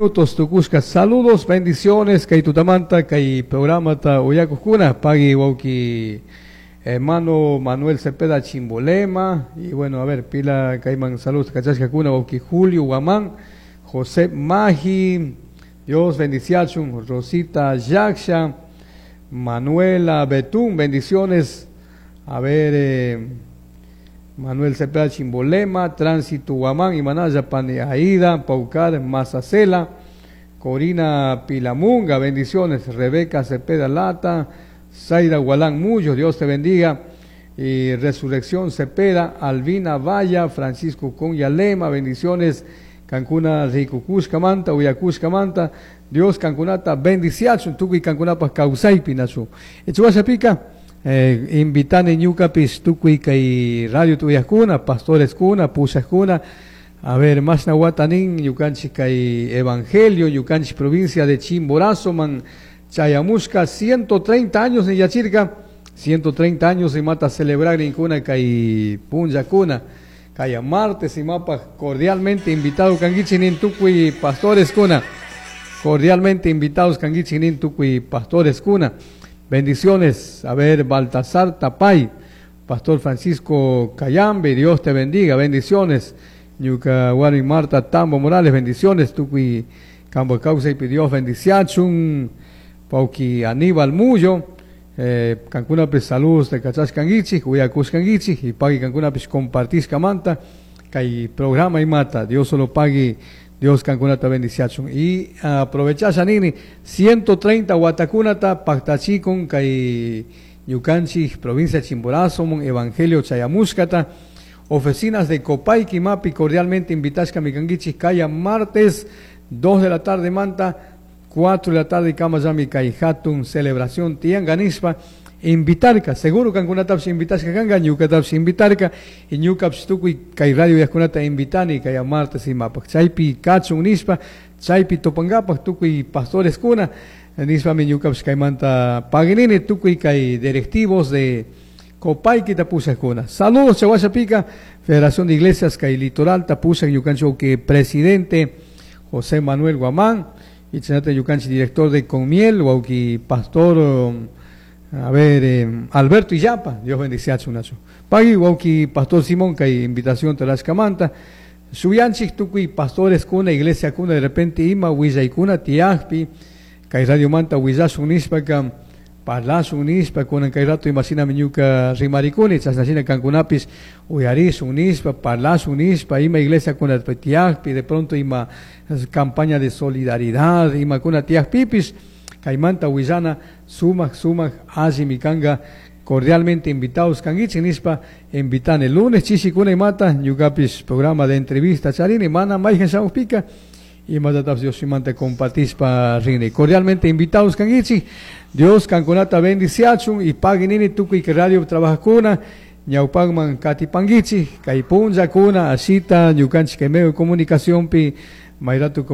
Minutos tukushka. Saludos, bendiciones, kay tutamanta, kay programata uyakujkuna, pagui wauki hermano Manuel Cepeda Chimbolema, y bueno, a ver, pila kayman saludos kachashkakuna, wauki Julio Guamán, José Magi, Dios bendiciachun, Rosita Yaksha, Manuela Betún, bendiciones, a ver, Manuel Cepeda Chimbolema, Tránsito Guamán, Imanaya Pane Aida, Paucar Mazacela, Corina Pilamunga, bendiciones, Rebeca Cepeda Lata, Zaira Gualán Mullo, Dios te bendiga, y Resurrección Cepeda, Albina Valla, Francisco Lema, bendiciones, Cancuna Ricucuscamanta, Uyacuscamanta, Dios Cancunata, bendiciachun, tukuy Cancunapa kawsaypi nachu. Pica, invitani ñukapis tukuy kay radio tuyajkuna, pastores kuna, pushajkuna, a ver, mashna watanin ñukanchik kay evangelio, ñukanchik provincia de Chimborazo, man chayamushka 130 años ni yachirka, 130 años y mata celebrar ninkuna kay punllakuna, kay martes y mapa cordialmente invitado kankichik nin tukuy pastores kuna, cordialmente invitados kankichik nin tukuy pastores kuna. Bendiciones, a ver, Baltasar Tapay, Pastor Francisco Cayambe, Dios te bendiga, bendiciones. Ñuka Warmi Marta Tambo Morales, bendiciones. Tukuy Cambo Causa y Dios bendiciachun. Pauki Aníbal Mullo, Cancuna saludos de Cachas Canguichi, Uyacus Canguichi, y pagui Cancuna compartís camanta, kay programa y mata, Dios solo pague. Dios cancunata bendiciachun. Y aprovechasha nini, 130 watakunata paktachikun kay ñukanchik provincia Chimborazo, mon Evangelio Chayamushkata, oficinas de Copaiqui Mapi, cordialmente invitashka mi kankichik, kaya martes, 2 de la tarde manta, 4 de la tarde kamayami kay hatun celebración tiyanganispa, invitarka, seguro kankunatapish invitashka kanka, ñukatapish invitarka, y ñukapish tukuy kay radio uyajkunata invitani kay martes imapak, chaypi kachun nishpa, chaypi tupankapak tukuy pastores kuna, nishpami ñukapish kaymanta paginini tukuy kay directivos de Copaiqui pushajkuna. Saludos Chahuachapica, Federación de Iglesias kay Litoral tapushak ñukanchik que presidente José Manuel Guamán, y chinata ñukanchik director de Conmiel, wauki pastor, a ver, Alberto Illapa, Dios bendice a Nacho. Pagui, wauki pastor Simón, kay invitación tarashkamanta. Shuyanchik tukuy pastores kuna, iglesia kuna, de repente ima willaykuna tiyajpi, kay radio manta willashun nishpaka, parlashun nishpa, kunan kay rato imashinami ñuka rimarikuni, chashnashina kankunapis uyarishun nishpa, parlashun nishpa, ima iglesia kuna tiyajpi, de pronto ima campaña de solidaridad, ima kuna tiyajpipis, kaymanta willana sumak sumak allimi kanga, cordialmente invitados kankichik nishpa, invitani lunes chishikuna imata, ñukapish programa de entrevista charini, mana mayjan shamukpika, imatatapish Dios imanta compartishpa rini. Cordialmente invitados kankichik, Dios kankunata bendiciachun y pagui nini tukuy kay radio trabajajkuna, ñawpakman katipankichik, kay punllakuna, ashita ñukanchik kay medio de comunicación pi, mayratu.